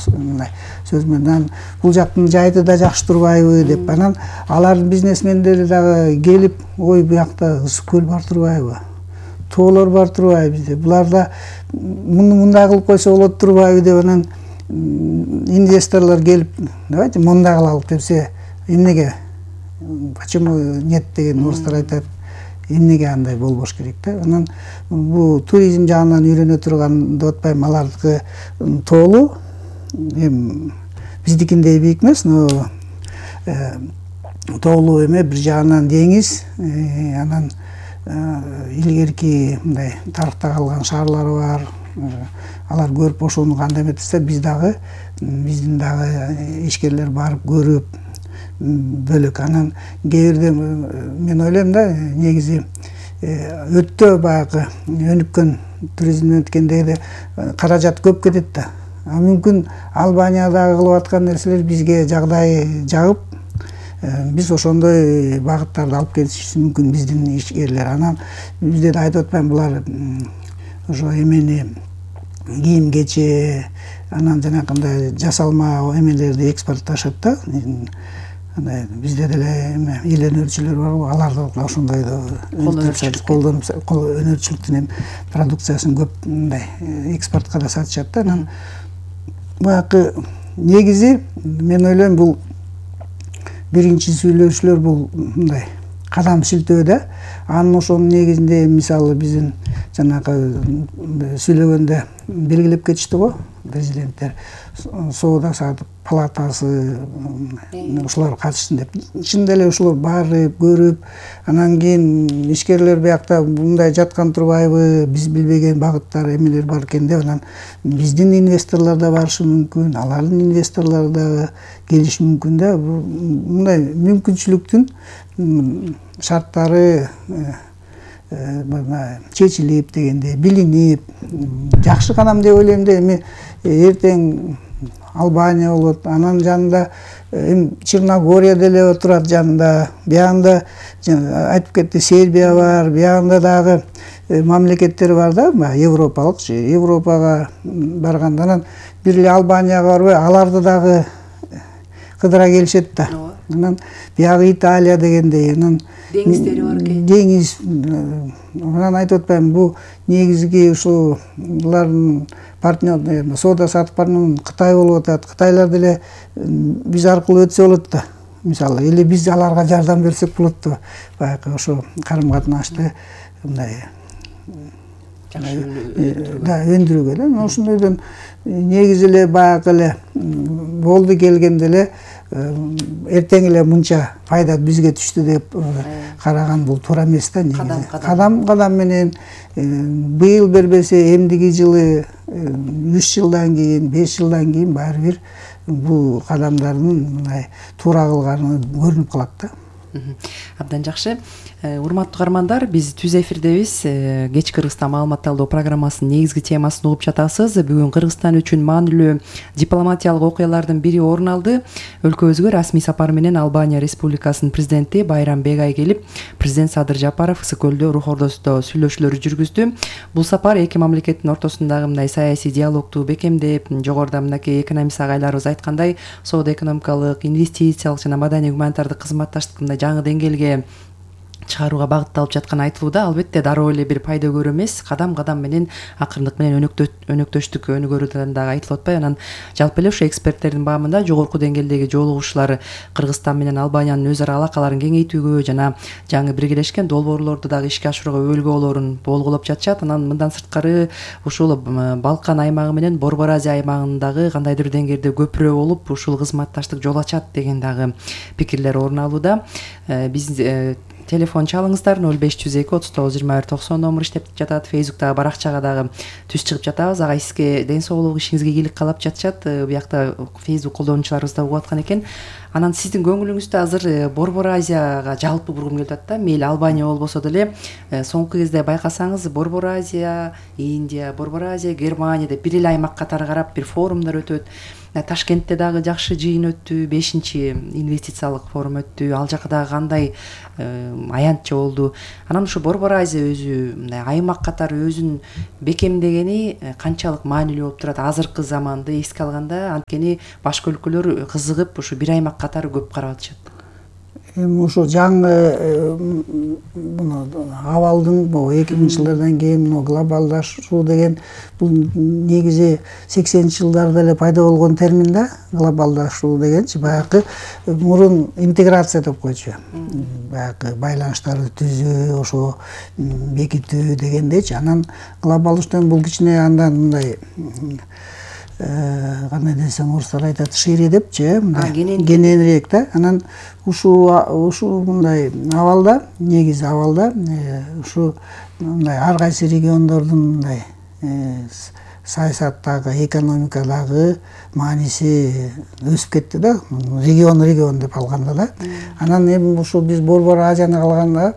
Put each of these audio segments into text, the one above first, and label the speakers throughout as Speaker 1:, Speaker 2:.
Speaker 1: мындай сөз менен бул жактын жайы да жакшы турбайбы деп анан алардын бизнесмендери дагы келип ой буякта ысык көл бар турбайбы, тоолор бар турбайбы bizde буларда мындай кылып койсо болот турбайбы деп анан инвесторлор келип давайте мындай кылалык депсе эмнеге почему нет деген орустар айтат. Эмнеге андай болбош керек да. Анан бул туризм жагынан үйрөнө турган деп атпайм, алардыкы тоолуу эми биздикиндей бийик эмес, но тоолуу эме бир жагынан деңиз, анан илгерки мындай тарыхта калган шаарлары бар. Алар көрүп ошону кандай эметсе биздин дагы ишкерлер барып көрүп бөлөк. Анан кээ бирде мен ойлойм да, негизи өтө баягы өнүккөн туризмден өткөндө каражат көп кетет да. Мүмкүн Албаниядагы кылып аткан нерселер бизге жагдайы жагып, биз ошондой багыттарды алып кетишибиз мүмкүн биздин ишкерлер. Анан бизде да айтып атпайм, булар ошо эмени кийим кече, анан жанакындай жасалма эмелерди экспортташат да. Бизде деле эме эл өнөрчүлөр бар, алар да ошондой өнөрчүлүктүн продукциясын көп мындай экспортко да сатышат да. Анан баягы негизи мен ойлойм бул биринчи сүйлөшүүлөр бул мындай кадам шилтөө да. Анын ошонун негизинде мисалы биздин жанагы сүйлөгөндө белгилеп кетишти го президенттер, соода сааттык палатасы ушулар катышсын деп. Чын эле ушулар барып көрүп, анан кийин ишкерлер биякта мындай жаткан турбайбы, биз билбеген багыттар эмелер бар экен деп, анан биздин инвесторлор да барышы мүмкүн, алардын инвесторлору да келиши мүмкүн да. Мындай мүмкүнчүлүктүн шарттары чечилип дегенде билинип жакшы кадам деп ойлойм да. Эми эртең Албания болот, анан жанында Черногория деле турат жанында, биягында айтып кетти Сербия бар, биягында дагы мамлекеттер бар да, европалык, Европага барганда анан бир эле Албанияга барбай, аларды дагы кыдыра келишет да. Анан биягы Италия дегендей, анан
Speaker 2: деңиздери бар экен.
Speaker 1: Деңиз, анан айтып атпайм, бул негизги ушул булардын партнер, соода саттык партнер Кытай болуп атат. Кытайлар деле биз аркылуу өтсө болот да. Мисалы, эле биз аларга жардам берсек болот да. Баягы ошо карым-катнашты мындай өндүрүүгө да. Ошондойдон негизи эле баягы эле болду келгенде эле эртең эле мынча пайда бизге түштү деп караган бул туура эмес да. Кадам менен быйыл бербесе эмдиги жылы 3 жылдан кийин, 5 жылдан кийин баары бир бул кадамдардын мындай туура кылганы көрүнүп калат да.
Speaker 2: Абдан жакшы. Урматтуу каармандар, биз түз эфирдебиз. Кеч Кыргызстан маалымат талдоо программасынын негизги темасын угуп жатасыз. Бүгүн Кыргызстан үчүн маанилүү дипломатиялык окуялардын бири орун алды. Өлкөбүзгө расмий сапар менен Албания Республикасынын президенти Байрам Бегай келип, президент Садыр Жапаров Ысык көлдө рух ордосунда сүйлөшүүлөр жүргүздү. Бул сапар эки мамлекеттин ортосундагы мындай саясий диалогту бекемдеп, жогоруда мынакей экономист агайларыбыз айткандай, соода экономикалык, инвестициялык жана маданий гуманитардык кызматташтыкты мындай жаңы деңгээлге чыгарууга багытталып жатканы айтылууда. Албетте дароо эле бир пайда көрүү эмес, кадам менен акырындык менен өнөктөштүк өнүгөрүлгөн дагы айтылып атпайбы. Анан жалпы эле ошо эксперттердин баамында жогорку деңгээлдеги жолугушуулар Кыргызстан менен Албаниянын өз ара алакаларын кеңейтүүгө жана жаңы биргелешкен долбоорлорду дагы ишке ашырууга өбөлгө болоорун болгулоп жатышат. Анан мындан сырткары ушул Балкан аймагы менен Борбор Азия аймагындагы кандайдыр деңгээлде көпүрө болуп, ушул кызматташтык жол ачат деген дагы пикирлер орун алууда. Биз телефон чалыңыздар 0502 39 21 90 номер иштеп жатат. Фейсбуктагы баракчага дагы түз чыгып жатабыз. Ага сизге ден соолук, ишиңизге ийгилик каалап жатышат. Буякта Фейсбук колдонуучуларыбыз да угуп аткан экен. Анан сиздин көңүлүңүздө азыр Борбор Азияга жалпы бургум келип атат да. Мейли Албания болбосо деле соңку кезде байкасаңыз Борбор Азия, Индия, Борбор Азия, Германия деп бир эле аймак катары карап бир форумдар өтөт. Ташкентте дагы жакшы жыйын өттү, 5-чи инвестициялык форум өттү. Ал жакка дагы кандай аянтча болду. Анан ушу Борбор Азия өзү мындай аймак катары өзүн бекемдегени канчалык маанилүү болуп турат азыркы заманды эске алганда? Анткени башка өлкөлөр кызыгып ушу бир аймак катары көп карап атышат.
Speaker 1: Эми ошо жаңы муну абалдын 2000-жылдардан кийин глобалдашуу деген бул негизи 80-жылдарда эле пайда болгон термин да. Глобалдашуу дегенчи баягы мурун интеграция деп койчу. Баягы байланыштарды түзүү, ошо бекитүү дегендечи. Анан глобалдашуудан бул кичине андан мындай кандай десем, орустар айтат шире депчи, мындай кененирээк да. Анан ушу мындай абалда, негизи абалда ушу мындай ар кайсы региондордун мындай саясаттагы, экономикадагы мааниси өсүп кетти да. Регион деп алганда да. Анан эми ушу биз Борбор Азияны алганда,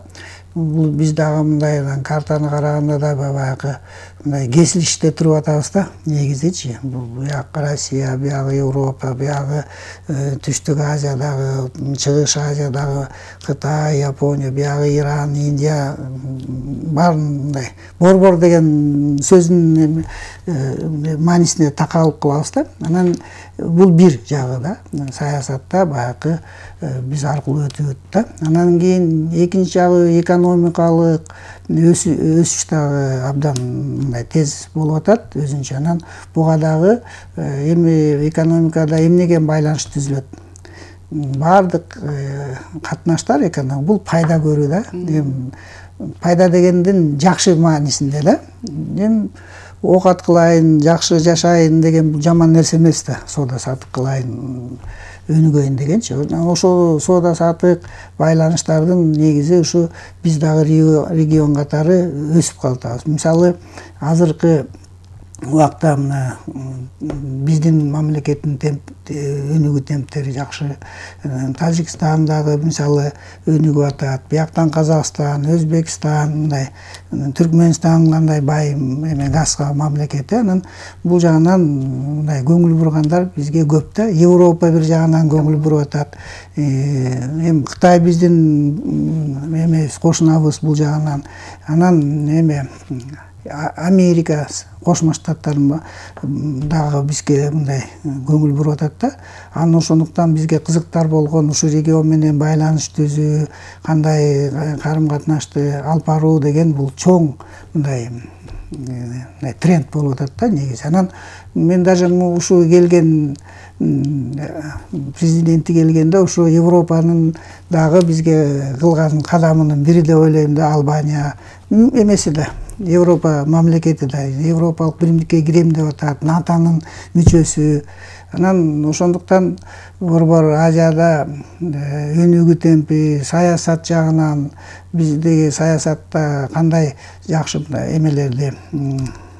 Speaker 1: бул биз дагы мындай картаны караганда да баягы мындай кесилиште туруп атабыз да, негизичи. Буяк Россия, бuyагы Европа, буягы Түштүк Азиядагы, Чыгыш Азиядагы Кытай, Япония, буягы Иран, Индия бар мындай. Борбор деген сөздүн маанисине такалып калабыз да. Анан бул бир жагы да. Саясатта баягы биз аркылуу өтүп да. Анан кийин экинчи жагы экономикалык өсүш дагы абдан мындай тез болуп атат өзүнчө. Анан буга дагы эми экономикада эмнеге байланыш түзүлөт? Бардык катнаштар экономика бул пайда көрүү да. Пайда дегендин жакшы маанисинде да. Эми оокат кылайын, жакшы жашайын деген бул жаман нерсе эмес да. Соода саттык кылайын, өнүгөйүн дегенчи. Ошол соода саттык байланыштардын негизи ушу биз дагы регион катары өсүп калатабыз. Мисалы, азыркы убакта мына биздин мамлекеттин өнүгүү темптери жакшы. Тажикстан дагы мисалы өнүгүп атат. Бияктан Казакстан, Өзбекстан, мындай Түркмөнстан кандай бай газга мамлекети. Анан бул жагынан мындай көңүл бургандар бизге көп да. Европа бир жагынан көңүл буруп атат. Эми Кытай биздин кошунабыз бул жагынан. Анан Америка, Кошмо Штаттар дагы бизге мындай көңүл буруп атат да. Анан ошондуктан бизге кызыктар болгон ушу регион менен байланыш түзүү, кандай карым-катнашты алып баруу деген бул чоң мындай тренд болуп атат да негизи. Анан мен даже ушу келген президенти келгенде ушу Европанын дагы бизге кылган кадамынын бири деп ойлойм да. Албания эмеси да. Европа мамлекети да, Европалык биримдикке кирем деп атат, НАТОнун мүчөсү. Анан ошондуктан Борбор Азияда өнүгүү темпи, саясат жагынан биздеги саясатта кандай жакшы эмелерди,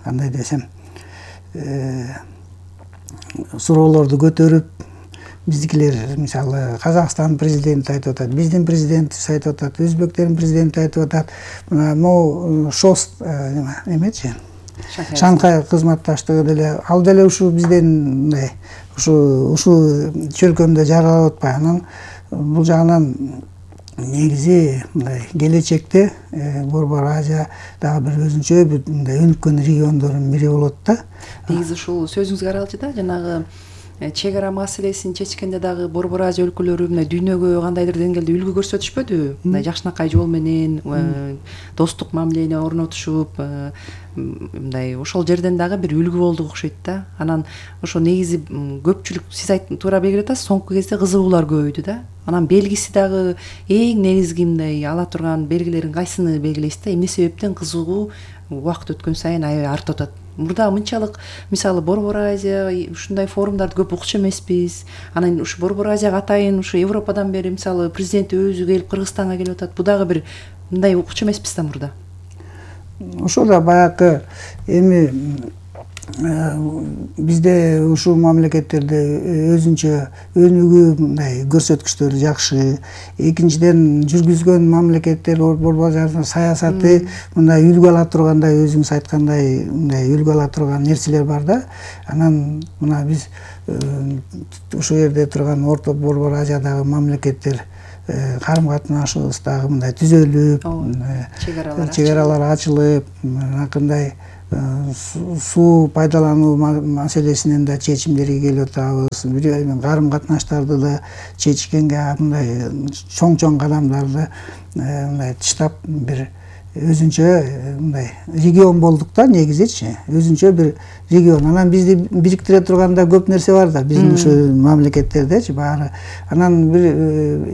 Speaker 1: кандай десем, суроолорду көтөрүп, биздикилер мисалы Казакстан президенти айтып атат, биздин президентибиз айтып атат, өзбектердин президенти айтып атат. Могу ШОС эмечи? Шанхай кызматташтыгы деле ал деле ушу бизден мындай ушу чөлкөмдө жаралып атпайбы. Анан бул жагынан негизи мындай келечекте Борбор Азия дагы бир өзүнчө мындай өнүккөн региондордун бири болот да.
Speaker 2: Негизи ушул сөзүңүзгө каралчы да, жанагы чек ара маселесин чечкенде дагы Борбор Азия өлкөлөрү мына дүйнөгө кандайдыр деңгээлде үлгү көрсөтүшпөдүбү? Мына жакшынакай жол менен достук мамилени орнотушуп, мындай ошол жерден дагы бир үлгү болдук окшойт да. Анан ошо негизи көпчүлүк сиз туура белгилеп атасыз, соңку кезде кызыгуулар көбөйдү да. Анан белгиси дагы эң негизги мындай ала турган белгилерин кайсыны белгилейсиз да? Эмне себептен кызыгуу убакыт өткөн сайын аябай артып атат? Мурда мынчалык мисалы Борбор Азия ушундай форумдарды көп укчу эмеспиз. Анан ушу Борбор Азияга атайын ушу Европадан бери мисалы президенти өзү келип Кыргызстанга келип атат. Бу дагы бир мындай укчу эмеспиз да мурда.
Speaker 1: Ошо да баягы эми бизде ушул мамлекеттерде өзүнчө өнүгүү мындай көрсөткүчтөрү жакшы. Экинчиден, жүргүзгөн мамлекеттер борбор базарында саясаты мындай үлгү ала тургандай, өзүңүз айткандай мындай үлгү ала турган нерселер бар да. Анан мына биз ушул жерде турган Орто Борбор Азиядагы мамлекеттер карым катнашыбыз дагы мындай түзөлүп, чек аралар ачылып, мынакындай суу пайдалануу маселесинен да чечимдерге келип атабыз. Карым катнаштарды да чечкенге мындай чоң кадамдарды мындай тыштап бир өзүнчө мындай регион болдук да, негизичи. Өзүнчө бир регион. Анан бизди бириктире турган да көп нерсе бар да, биздин ушу мамлекеттердечи баары. Анан бир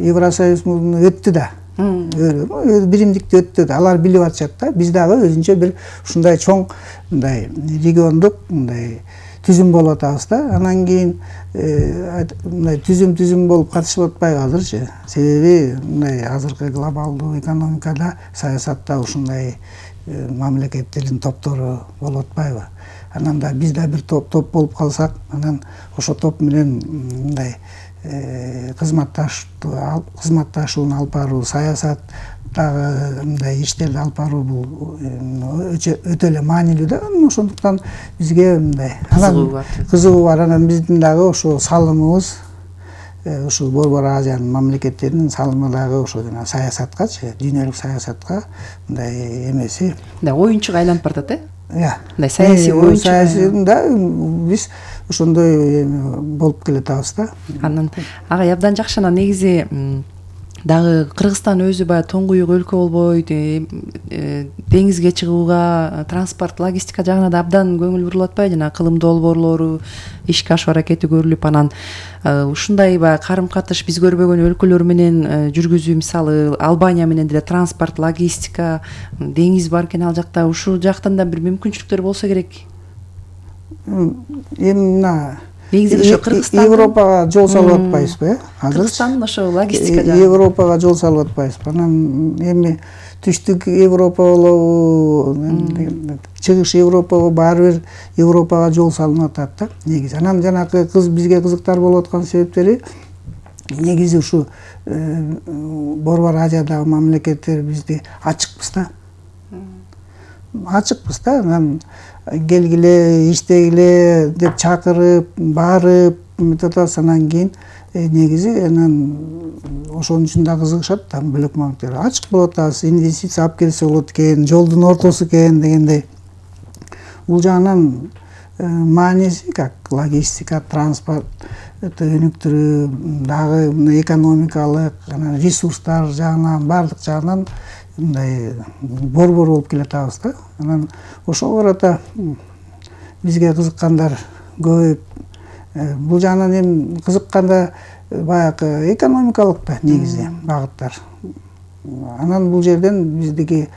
Speaker 1: Евросоюз өттү да. Биримдикти өттү. Алар билип атышат да. Биз дагы өзүнчө бир ушундай чоң мындай региондук мындай түзүм болуп атабыз да. Анан кийин мындай түзүм болуп катышып атпайбы азырчы? Себеби мындай азыркы глобалдуу экономикада, саясатта ушундай мамлекеттердин топтору болуп атпайбы? Анан да биз да бир топ болуп калсак, анан ошо топ менен мындай кызматташууну алып баруу, саясат дагы мындай иштерди алып баруу бул өтө эле маанилүү да. Ошондуктан бизге мындай кызыгуу бар. Анан биздин дагы ошо салымыбыз ушул Борбор Азиянын мамлекеттеринин салымы дагы ошо жана саясаткачы, дүйнөлүк саясатка мындай эмеси.
Speaker 2: Мындай оюнчуга айланып баратат,
Speaker 1: мындай
Speaker 2: саясий оюнчу.
Speaker 1: Саясийда биз ошондой болуп келатабыз да.
Speaker 2: Анан агай абдан жакшы. Анан негизи дагы Кыргызстан өзү баягы тоңгуюк өлкө болбойт, деңизге чыгууга, транспорт, логистика жагына да абдан көңүл бурулуп атпайбы? Жана кылым долбоорлору ишке ашуу аракети көрүлүп, анан ушундай баягы карым катыш биз көрбөгөн өлкөлөр менен жүргүзүү, мисалы Албания менен деле транспорт, логистика, деңиз бар экен ал жакта. Ушул жактан да бир мүмкүнчүлүктөр болсо керек.
Speaker 1: Эми мына
Speaker 2: негизи ошо Кыргызстан
Speaker 1: Европага жол салып атпайбызбы, азыр?
Speaker 2: Кыргызстан ошо логистика жагы.
Speaker 1: Европага жол салып атпайбызбы? Анан эми түштүк Европа болобу, чыгыш Европа баары бир Европага жол салынып атат да, негизи. Анан жанакы бизге кызыктар болуп аткан себептери негизи ушу Борбор Азиядагы мамлекеттер бизди ачыкпыз да. Ачыкпыз да. Анан келгиле, иштегиле деп чакырып, барып атабыз. Анан кийин негизи анан ошонун үчүн да кызыгышат да бөлөк мамлекеттер. Ачык болуп атабыз, инвестиция алып келсе болот экен, жолдун ортосу экен дегендей. Бул жагынан мааниси как логистика, транспорт өнүктүрүү, дагы экономикалык, анан ресурстар жагынан, баардык жагынан мындай борбор болуп келатабыз да. Анан ошого карата бизге кызыккандар көп. Бул жагынан эми кызыкканда баягы экономикалык да негизи багыттар. Анан бул жерден биздики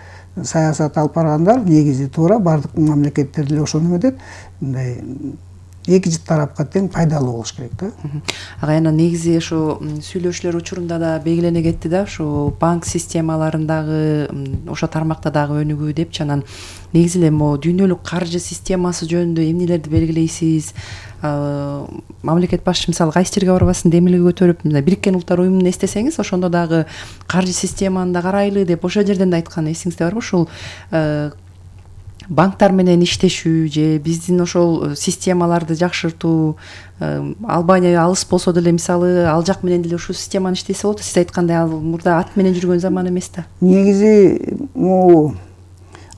Speaker 1: саясат алып баргандар негизи туура баардык мамлекеттер деле ошону эметет. Мындай эки тарапка тең пайдалуу болуш керек да.
Speaker 2: Агай, анан негизи ошо сүйлөшүүлөр учурунда да белгилене кетти да, ошо банк системаларындагы ошо тармакта дагы өнүгүү депчи. Анан негизи эле могу дүйнөлүк каржы системасы жөнүндө эмнелерди белгилейсиз? Мамлекет башчы мисалы кайсы жерге барбасын демилге көтөрүп, Бириккен Улуттар уюмун эстесеңиз, ошондо дагы каржы системаны да карайлы деп ошол жерден да айткан, эсиңизде барбы? Ошол банктар менен иштешүү же биздин ошол системаларды жакшыртуу, Албания алыс болсо деле мисалы ал жак менен деле ушул системаны иштесе болот. Сиз айткандай ал мурда ат менен жүргөн заман эмес да.
Speaker 1: Негизи могу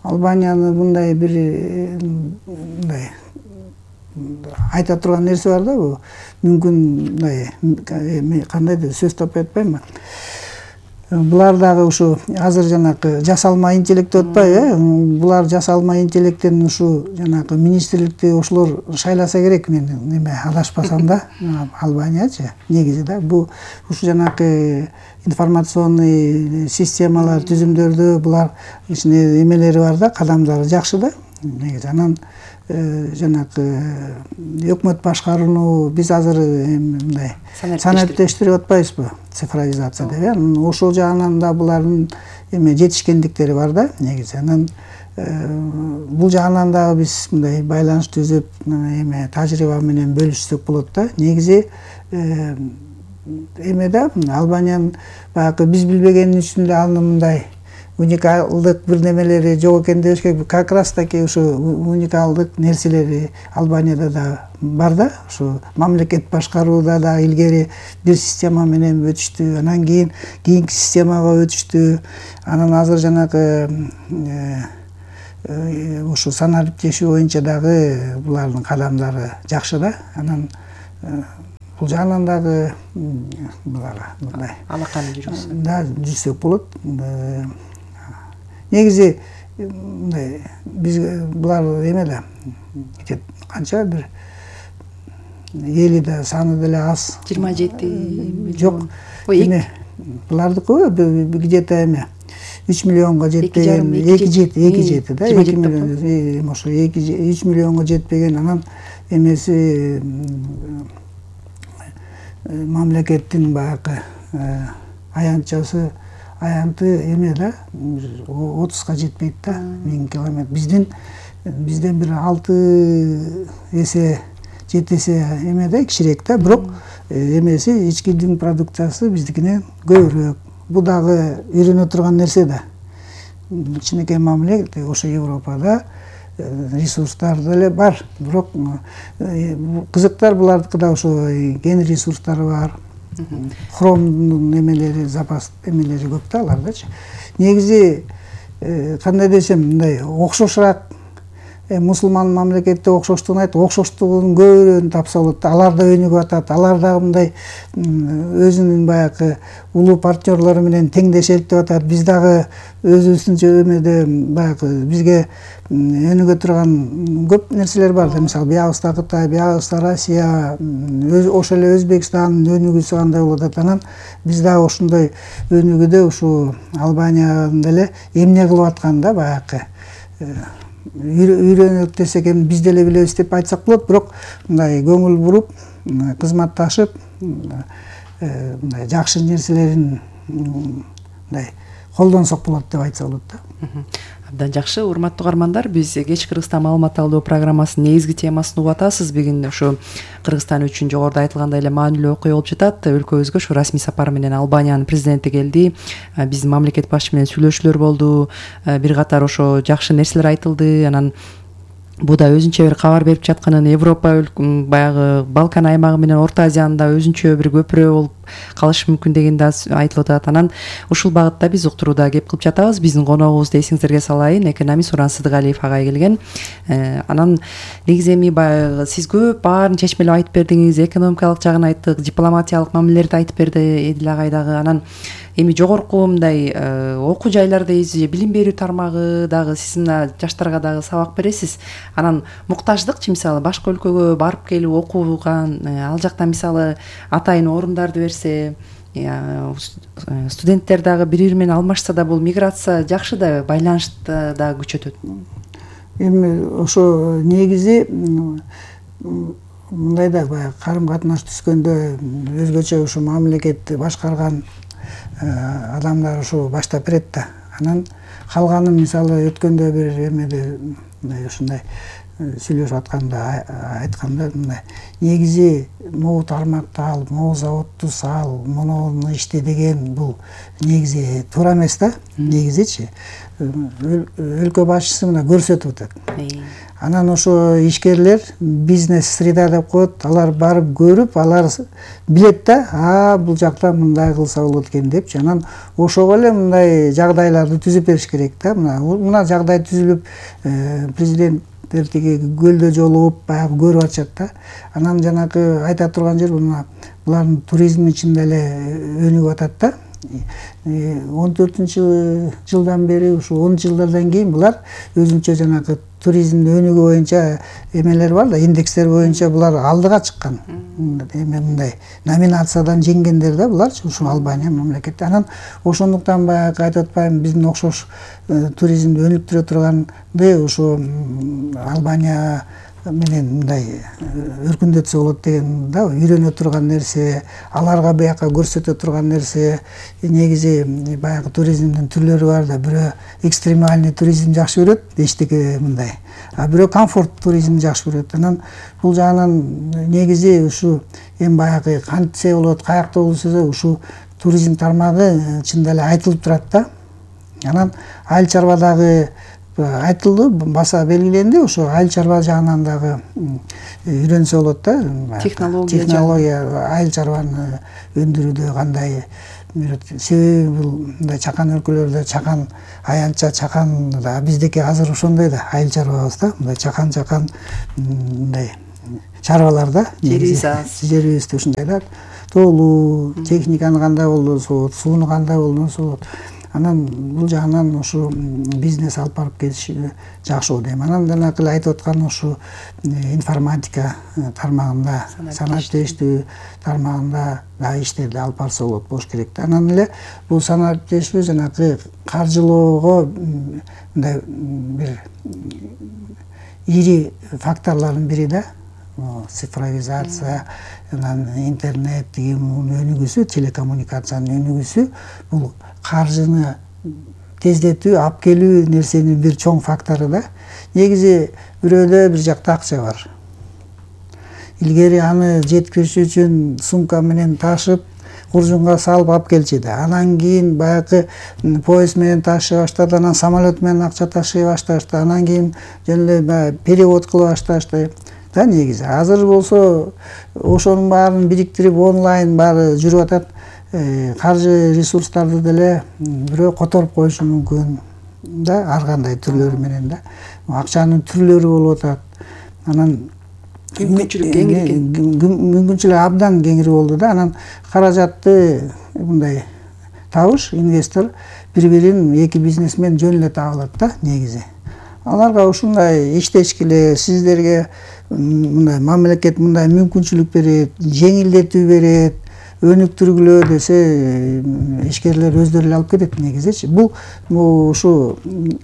Speaker 1: Албанияны мындай бир мындай айта турган нерсе бар да, бул мүмкүн мындай кандайдыр сөз таппай атпаймынбы? Булар дагы ушу азыр жанакы жасалма интеллект деп атпайбы? Булар жасалма интеллекттен ушу жанакы министрликти ошолор шайласа керек, мен неме адашпасам да, Албаниячы негизи да. Бул ушу жанакы информационный системалар, түзүмдөрдү булар ичине эмелери бар да, кадамдары жакшы да. Негизи анан жанакы өкмөт башкарууну биз азыр мындай санариптештирип атпайбызбы, цифровизация деп. Ошол жагынан да булардын жетишкендиктери бар да негизи. Анан бул жагынан дагы биз мындай байланыш түзүп эме тажрыйба менен бөлүшсөк болот да. Негизи эме да Албаниянын баягы биз билбегени үчүн эле анын мындай уникалдык бир немелери жок экен дебеш керек. Как раз таки ушу уникалдык нерселери Албанияда да бар да. Ушу мамлекет башкарууда да илгери бир система менен өтүштү, анан кийинки системага өтүштү. Анан азыр жанагы ушу саналып жешүү боюнча дагы булардын кадамдары жакшы да. Анан бул жагынан дагы буларга мындай
Speaker 2: алаканы жүргүзсөк
Speaker 1: да жүрсөк болот. Негизи мындай биз булар эме да канча бир эли да саны деле аз.
Speaker 2: 27 миллион.
Speaker 1: Жок. Эме булардыкы где-то эме 3 миллионго жетпеген, 2 да, 2 миллион, ошо 3 миллионго жетпеген. Анан эмеси мамлекеттин баягы аянтчасы аянты эме да 30га жетпейт да 1000 километр. Бизден бир 6 эсе 7 эсе эме да кичирээк да, бирок эмеси ичкидин продукциясы биздикинен көбүрөөк. Бул дагы үйрөнө турган нерсе да. Кичинекей мамлекет ошо Европада ресурстар деле бар, бирок кызыктар булардыкыда ошо кен ресурстары бар. Хромдун эмелери, запас эмелери көп да алардачы. Негизи кандай десем, мындай окшошураак мусулман мамлекетте окшоштугун айтып, окшоштугунун көбүрөөүн тапса болот. Алар да өнүгүп атат. Алар дагы мындай өзүнүн баягы улуу партнерлору менен теңдеш элтип атат. Биз дагы өзүбүздүнчө эмеде баягы бизге өнүгө турган көп нерселер бар. Мисалы, биягыбызда Кытай, биягыбызда Россия, ошол эле Өзбекстан өнүгүүсү кандай болуп атат. Анан биз дагы ошондой өнүгүүдө ушу Албаниядан деле эмне кылып аткан да баягы үйрөнөк десек эми биз деле билебиз деп айтсак болот, бирок мындай көңүл буруп, кызматташып, мындай жакшы нерселерин мындай колдонсок болот деп айтса болот да.
Speaker 2: Абдан жакшы. Урматтуу угармандар, биз Кеч Кыргызстан маалымат алуу программасынын негизги темасын угуп атасыз. Бүгүн ушу Кыргызстан үчүн жогоруда айтылгандай эле маанилүү окуя болуп жатат. Өлкөбүзгө ушу расмий сапар менен Албаниянын президенти келди. Биздин мамлекет башчысы менен сүйлөшүүлөр болду. Бир катар ошо жакшы нерселер айтылды. Анан бул да өзүнчө бир кабар берип жатканын, Европа баягы Балкан аймагы менен Орто Азиянын да өзүнчө бир көпүрө болуп калышы мүмкүн деген да айтылып атат. Анан ушул багытта биз уктурууда кеп кылып жатабыз. Биздин коногубузду эсиңиздерге салайын, экономист Суран Сыдыгалиев агай келген. Анан негизи эми баягы сиз көп баарын чечмелеп айтып бердиңиз, экономикалык жагын айттык, дипломатиялык мамилелерди айтып берди Эдил агай дагы. Анан эми жогорку мындай окуу жайлардайбыз же билим берүү тармагы дагы сиз мына жаштарга дагы сабак бересиз. Анан муктаждыкчы, мисалы башка өлкөгө барып келип окуган, ал жакта мисалы атайын орундарды берсе, студенттер дагы бири-бири менен алмашса да бул миграция жакшы да, байланышты да күчөтөт.
Speaker 1: Эми ошо негизи мындай да баягы карым катнаш түзгөндө өзгөчө ушу мамлекетти башкарган адамдар ушу баштап берет да. Анан калганын мисалы өткөндө бир эмеде ушундай сүйлөшүп атканда айтканда мындай негизи могу тармакты ал, могу заводду сал, монуну иште деген бул негизи туура эмес да. Негизичи өлкө башчысы мына көрсөтүп атат. Анан ошо ишкерлер бизнес среда деп коет, алар барып көрүп, алар билет да, бул жакта мындай кылса болот экен депчи. Анан ошого эле мындай жагдайларды түзүп бериш керек да. Мына жагдай түзүлүп, президенттер тиги көлдө жолугуп баягы көрүп атышат да. Анан жанагы айта турган жер булардын туризм ичинде эле өнүгүп атат да. 14-жылдан бери, ушу 10 жылдардан кийин булар өзүнчө жанагы туризмдин өнүгүү боюнча эмелер бар да, индекстер боюнча булар алдыга чыккан. Эме мындай номинациядан жеңгендер да булар, ушу Албания мамлекети. Анан ошондуктан баягы айтып атпаймынбы, биздин окшош туризмди өнүктүрө турганды ушу Албания менен мындай өркүндөтсө болот деген да, үйрөнө турган нерсе, аларга бияка көрсөтө турган нерсе. Негизи баягы туризмдин түрлөрү бар да, бирөө экстремальный туризм жакшы көрөт, эчтеке мындай. А бирөө комфорт туризм жакшы көрөт. Анан бул жагынан негизи ушу эми баягы кантсе болот, каякта болсо ушу туризм тармагы чынында эле айтылып турат да. Анан айыл чарбадагы айтылды, баса белгиленди, ошо айыл чарба жагынан дагы үйрөнсө болот да. Технология айыл чарбаны өндүрүүдө кандай. Себеби бул мындай чакан өлкөлөрдө чакан аянтча, чакан да биздеки азыр ошондой да, айыл чарбабыз да, мындай чакан мындай чарбалар да. Жерибизде ушундай да. Тоолуу, техниканы кандай колдонсо болот, сууну кандай колдонсо болот. Анан бул жагынан ушу бизнес алып барып кетиш жакшы болот дейм. Анан жанагы эле айтып аткан ушу информатика тармагында, санаттештүү тармагында да иштерди алып барса болуш керек да. Анан эле бул санаттештүү жанагы каржылоого мындай бир ири факторлордун бири да. Цифровизация, интернет деген өнүгүүсү, телекоммуникациянын өнүгүүсү бул каржыны тездетүү, алып келүү нерсенин бир чоң фактору да. Негизи бирөөдө бир жакта акча бар. Илгери аны жеткириш үчүн сумка менен ташып, куржунга салып алып келчү да. Анан кийин баягы поезд менен ташый баштады, анан самолет менен акча ташый башташты, анан кийин жөн эле перевод кыла башташты. Да, негизи азыр болсо ошонун баарын бириктирип онлайн баары жүрүп атат. Каржы ресурстарды деле бирөө которуп коюшу мүмкүн да, ар кандай түрлөрү менен да. Акчанын түрлөрү болуп атат. Анан мүмкүнчүлүк кеңири экен. Мүмкүнчүлүк абдан кеңири болду да. Анан каражатты мындай табыш, инвестор бири-бирин, эки бизнесмен жөн эле таба алат да, негизи. Аларга ушундай иштешке эле, сиздерге мындай мамлекет мындай мүмкүнчүлүк берет, жеңилдетүү берет, өнүктүргүлө десе, ишкерлер өздөрү эле алып кетет негизичи. Бул ушу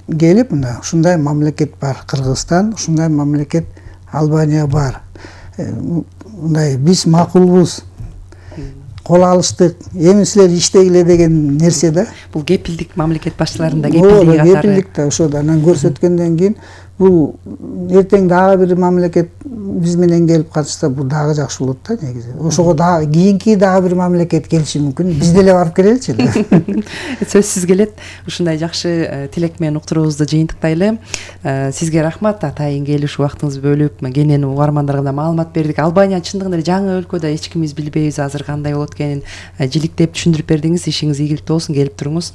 Speaker 1: келип мына ушундай мамлекет бар Кыргызстан, ушундай мамлекет Албания бар. Мындай биз макулбуз. Кол алыштык, эми силер иштегиле деген нерсе да.
Speaker 2: Бул кепилдик мамлекет башчыларында кепилдик катары.
Speaker 1: Кепилдик да ошо да. Анан көрсөткөндөн кийин бул эртең дагы бир мамлекет биз менен келип катышса бул дагы жакшы болот да негизи. Ошого дагы кийинки дагы бир мамлекет келиши мүмкүн. Биз деле барып келеличи.
Speaker 2: Сөзсүз келет. Ушундай жакшы тилек менен уктуруубузду жыйынтыктайлы. Сизге рахмат, атайын келип ушу убактыңызды бөлүп, кенен угармандарга да маалымат бердик. Албания чындыгында эле жаңы өлкө да, эч кимибиз билбейбиз азыр кандай болот экенин. Жиликтеп түшүндүрүп бердиңиз. Ишиңиз ийгиликтүү болсун, келип туруңуз.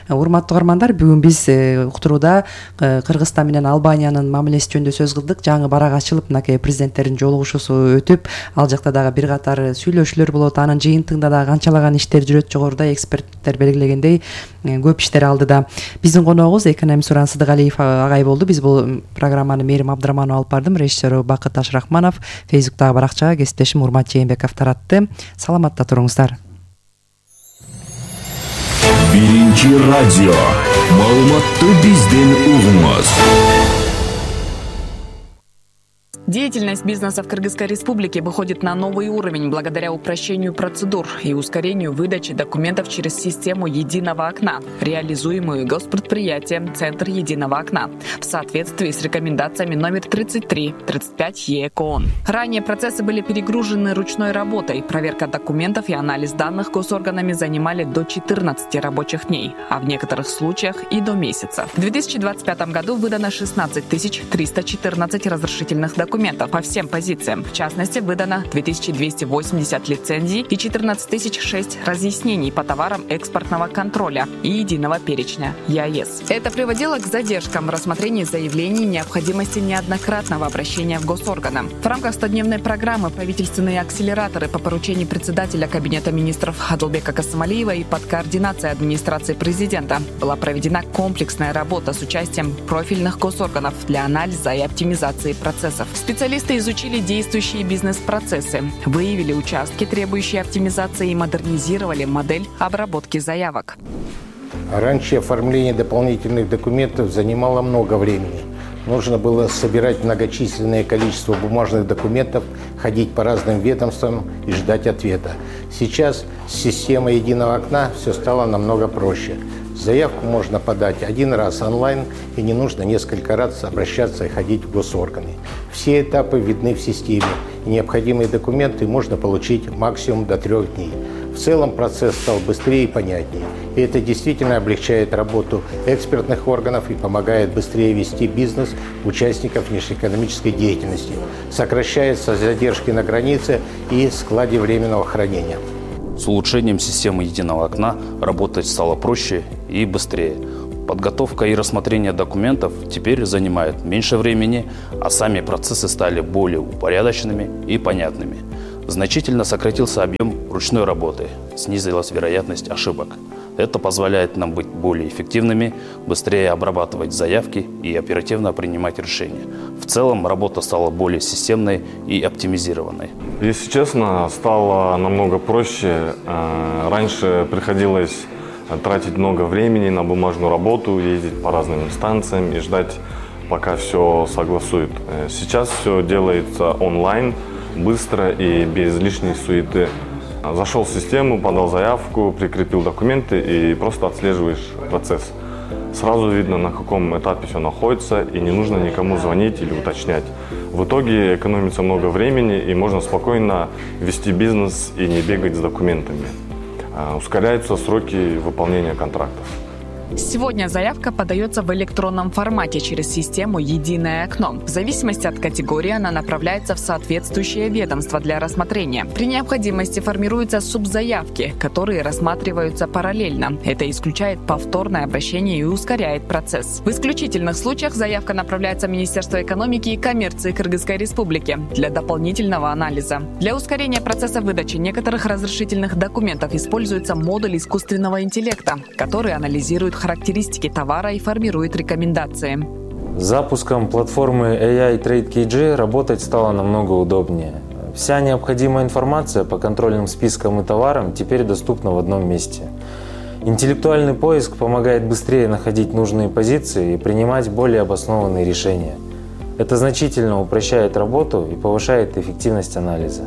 Speaker 2: Урматтуу угармандар, бүгүн биз уктурууда Кыргызстан менен Албаниянын мамилеси жөнүндө сөз кылдык. Жаңы барак ачылып, мынакей президенттердин жолугушуусу өтүп, ал жакта дагы бир катар сүйлөшүүлөр болот. Анын жыйынтыгында дагы канчалаган иштер жүрөт. Жогоруда эксперттер белгилегендей көп иштер алдыда. Биздин коногубуз экономист Суран Сыдыгалиев агай болду. Биз бул программаны Мээрим Абдыраманова алып бардым. Режиссеру Бакыт Ашрахманов, Фейсбуктагы баракчага кесиптешим Урмат Жээнбеков таратты. Саламатта туруңуздар.
Speaker 3: Биринчи радио. Маалыматты бизден угуңуз.
Speaker 4: Деятельность бизнеса в Кыргызской республике выходит на новый уровень благодаря упрощению процедур и ускорению выдачи документов через систему единого окна, реализуемую госпредприятием «Центр единого окна» в соответствии с рекомендациями номер 33/35 ЕЭК ООН. Ранее процессы были перегружены ручной работой. Проверка документов и анализ данных госорганами занимали до 14 рабочих дней, а в некоторых случаях и до месяца. В 2025 году выдано 16 314 разрешительных документов по всем позициям. В частности, выдано 2280 лицензий и 14 006 разъяснений по товарам экспортного контроля и единого перечня ЕАЭС. Это приводило к задержкам в рассмотрении заявлений и необходимости неоднократного обращения в госорганы. В рамках 100-дневной программы правительственные акселераторы по поручению председателя Кабинета министров Адылбека Касымалиева и под координацией администрации президента была проведена комплексная работа с участием профильных госорганов для анализа и оптимизации процессов. Специалисты изучили действующие бизнес-процессы, выявили участки, требующие оптимизации, и модернизировали модель обработки заявок.
Speaker 5: Раньше оформление дополнительных документов занимало много времени. Нужно было собирать многочисленное количество бумажных документов, ходить по разным ведомствам и ждать ответа. Сейчас с системой единого окна все стало намного проще. Заявку можно подать один раз онлайн, и не нужно несколько раз обращаться и ходить в госорганы. Все этапы видны в системе, и необходимые документы можно получить максимум до 3 дней. В целом процесс стал быстрее и понятнее. И это действительно облегчает работу экспертных органов и помогает быстрее вести бизнес участников внешнеэкономической деятельности. Сокращаются задержки на границе и складе временного хранения.
Speaker 6: С улучшением системы единого окна работать стало проще и быстрее. Подготовка и рассмотрение документов теперь занимает меньше времени, а сами процессы стали более упорядоченными и понятными. Значительно сократился объем ручной работы, снизилась вероятность ошибок. Это позволяет нам быть более эффективными, быстрее обрабатывать заявки и оперативно принимать решения. В целом работа стала более системной и оптимизированной.
Speaker 7: Если честно, стало намного проще. Раньше приходилось тратить много времени на бумажную работу, ездить по разным инстанциям и ждать, пока все согласуют. Сейчас все делается онлайн, быстро и без лишней суеты. Зашел в систему, подал заявку, прикрепил документы и просто отслеживаешь процесс. Сразу видно, на каком этапе все находится, и не нужно никому звонить или уточнять. В итоге экономится много времени, и можно спокойно вести бизнес и не бегать с документами. Ускоряются сроки выполнения контрактов.
Speaker 4: Сегодня заявка подается в электронном формате через систему «Единое окно». В зависимости от категории она направляется в соответствующее ведомство для рассмотрения. При необходимости формируются субзаявки, которые рассматриваются параллельно. Это исключает повторное обращение и ускоряет процесс. В исключительных случаях заявка направляется в Министерство экономики и коммерции Кыргызской Республики для дополнительного анализа. Для ускорения процесса выдачи некоторых разрешительных документов используется модуль искусственного интеллекта, который анализирует характеристики товара и формирует рекомендации.
Speaker 8: С запуском платформы AI Trade KG работать стало намного удобнее. Вся необходимая информация по контрольным спискам и товарам теперь доступна в одном месте. Интеллектуальный поиск помогает быстрее находить нужные позиции и принимать более обоснованные решения. Это значительно упрощает работу и повышает эффективность анализа.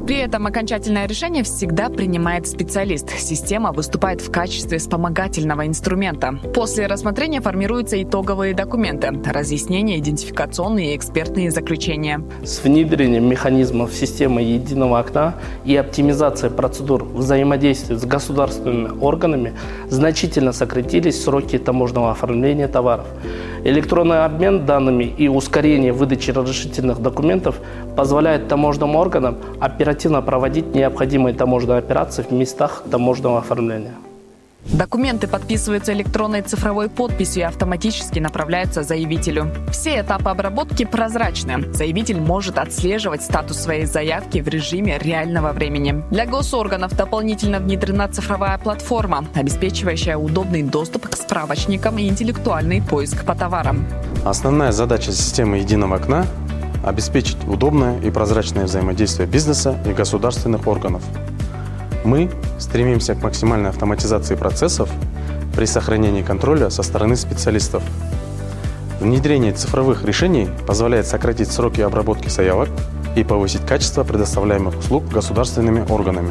Speaker 4: При этом окончательное решение всегда принимает специалист. Система выступает в качестве вспомогательного инструмента. После рассмотрения формируются итоговые документы, разъяснения, идентификационные и экспертные заключения.
Speaker 9: С внедрением механизмов системы единого окна и оптимизацией процедур взаимодействия с государственными органами значительно сократились сроки таможенного оформления товаров. Электронный обмен данными и ускорение выдачи разрешительных документов позволяет таможенным органам оперативно проводить необходимые таможенные операции в местах таможенного оформления.
Speaker 4: Документы подписываются электронной цифровой подписью и автоматически направляются заявителю. Все этапы обработки прозрачны. Заявитель может отслеживать статус своей заявки в режиме реального времени. Для госорганов дополнительно внедрена цифровая платформа, обеспечивающая удобный доступ к справочникам и интеллектуальный поиск по товарам.
Speaker 10: Основная задача системы единого окна – обеспечить удобное и прозрачное взаимодействие бизнеса и государственных органов. Мы стремимся к максимальной автоматизации процессов при сохранении контроля со стороны специалистов. Внедрение цифровых решений позволяет сократить сроки обработки заявок и повысить качество предоставляемых услуг государственными органами.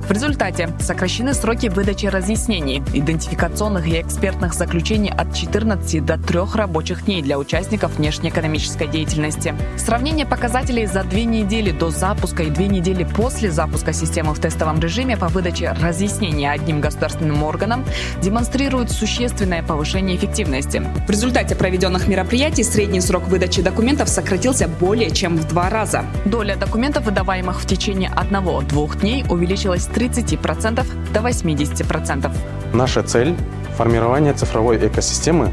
Speaker 4: В результате сокращены сроки выдачи разъяснений, идентификационных и экспертных заключений от 14 до 3 рабочих дней для участников внешнеэкономической деятельности. Сравнение показателей за 2 недели до запуска и 2 недели после запуска системы в тестовом режиме по выдаче разъяснений одним государственным органам демонстрирует существенное повышение эффективности. В результате проведенных мероприятий средний срок выдачи документов сократился более чем в 2 раза. Доля документов, выдаваемых в течение 1-2 дней, увеличилась с 30% до 80%.
Speaker 10: Наша цель – формирование цифровой экосистемы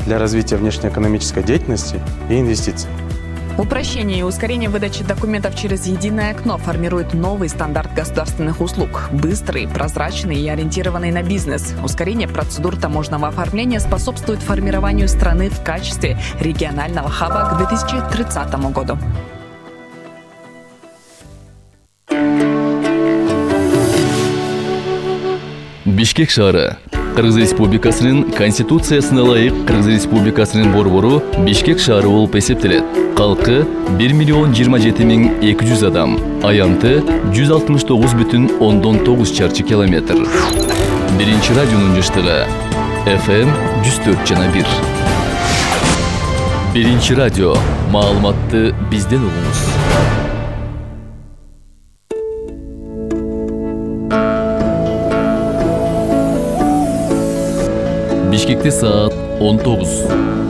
Speaker 10: для развития внешнеэкономической деятельности и инвестиций.
Speaker 4: Упрощение и ускорение выдачи документов через единое окно формирует новый стандарт государственных услуг. Быстрый, прозрачный и ориентированный на бизнес. Ускорение процедур таможенного оформления способствует формированию страны в качестве регионального хаба к 2030 году.
Speaker 3: Бишкек шаары
Speaker 11: Кыргыз Республикасынын Конституциясына ылайык Кыргыз Республикасынын борбору Бишкек шаары болуп эсептелет. Калкы 1,27,200 адам, аянты 169,9 чарчы километр. Биринчи радионун жыштыгы FM 104,1. Биринчи радио. Маалыматты бизден угуңуз. Бишкекте саат 19.